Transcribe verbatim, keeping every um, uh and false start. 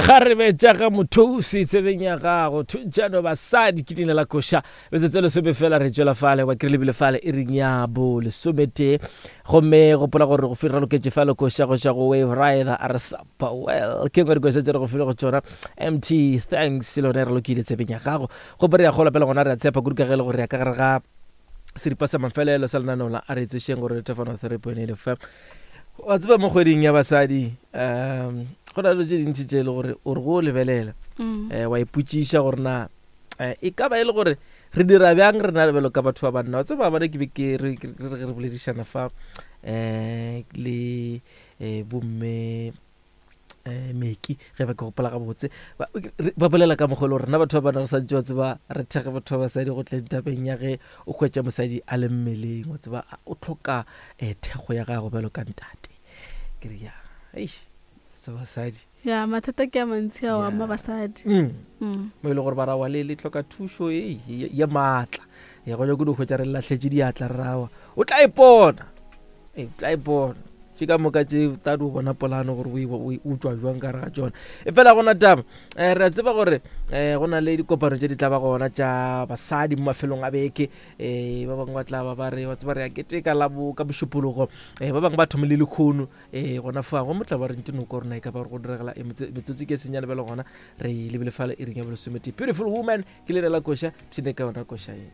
Kgarebe tša ga Mothusi tsebeng ya gago, thuntšano basadi ke leina la koša. Metsotso e lesome fela re tšwela fale, wa kry lebile fale e reng ya bo lesometee. Gomme gopola gore go fira loketše fale koša go tšwa go Wave Rider a re sapa well. Ke nngwe dikoša tše re go file go tšona. M T thanks le yona e re lokile tsebeng ya gago. Gomme re ya gola pele gona re a tshepa kudu ka ge e le gore ya ka gare ga seripa sa mafelelo sa lenaneo la a re tsošeng gore re thefano three point eight F M. Wa tseba mo kgweding ya basadi, um go na le dilo tše dintši tše e le gore o re go lebelela, Mm. eh, wa ipotšiša gore na, eh, e ka ba e le gore re dira bjang rena bjalo ka batho ba banna. Wa tseba bana ke be ke re, ke re, re boledišana fa, eh, le, eh, bomme, eh, Meki, ge ba ke gopola gabotse. Ba, re, ba bolela ka mokgwa o le gore rena batho ba banna re santše wa tseba re thekge batho ba basadi go tleng tabeng ya ge o hwetša mosadi a le mmeleng, wa tseba, a, o hloka, eh, thekgo ya gago bjalo ka ntate. Ke re, ya, eish, tsa basadi. Ya, mathata ke a mantsi ao Ya. ama basadi. Mm. Mm. Mo e le gore ba ra wa le, le hloka thušo e, ye, ye maatla. Ya go nyaka go hwetša re lahletše diatla re rawa. O tla ipona. Ee, o tla ipona. Tše ka moka tše tla di o bona polano gore o e, o e, o tšwa jwang ka gare ga tšona. E fela gona taba, eh, re a tseba gore, eh, go na le dikopano tše di tla ba gona tša basadi mo mafelong a beke. Eh, ba bangwe ba tla ba ba re, wa tseba re a keteka la bo ka Mošupologo. Eh, ba bangwe ba thoma le lekgono. Eh, gona fa, go motla ba re ntse noko rona e ka ba gore go diragala, eh, motse-, metsotso ke senyane bjalo gona, re lebile fale e reng ya bolesomete. Beautiful Woman ke leina la koša, pshine ka yona koša e.